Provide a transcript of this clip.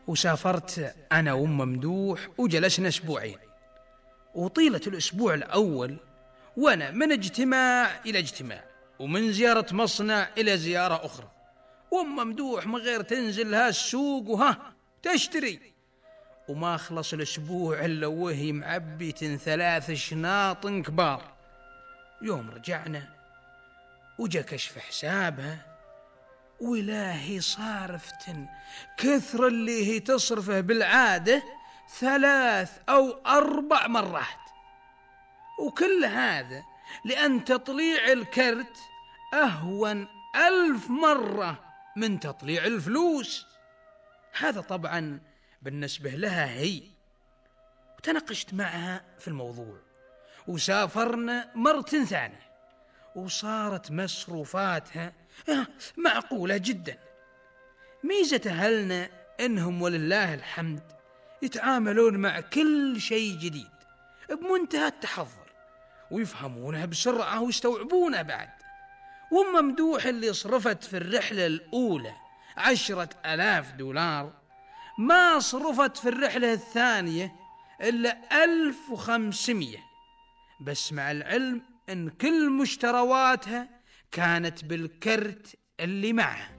وسافرت أنا وأم ممدوح وجلسنا أسبوعين. وطيلة الأسبوع الأول وأنا من اجتماع إلى اجتماع، ومن زيارة مصنع إلى زيارة أخرى، وأم ممدوح من غير تنزل لها السوق تشتري، وما خلص الأسبوع إلا وهي معبية 3 شناط كبار. يوم رجعنا وجا كشف حسابها، وإلهي صارفة كثر اللي هي تصرفه بالعادة 3 أو 4 مرات، وكل هذا لأن تطليع الكرت أهون 1000 مرة من تطليع الفلوس. هذا طبعا بالنسبة لها هي. وتناقشت معها في الموضوع، وسافرنا مرة ثانية، وصارت مصروفاتها معقولة جدا. ميزة أهلنا إنهم ولله الحمد يتعاملون مع كل شيء جديد بمنتهى التحضر، ويفهمونها بسرعة ويستوعبونها بعد. وأم ممدوح اللي صرفت في الرحلة الأولى 10,000 دولار ما صرفت في الرحلة الثانية إلا 1500، بس مع العلم إن كل مشترواتها كانت بالكرت اللي معها.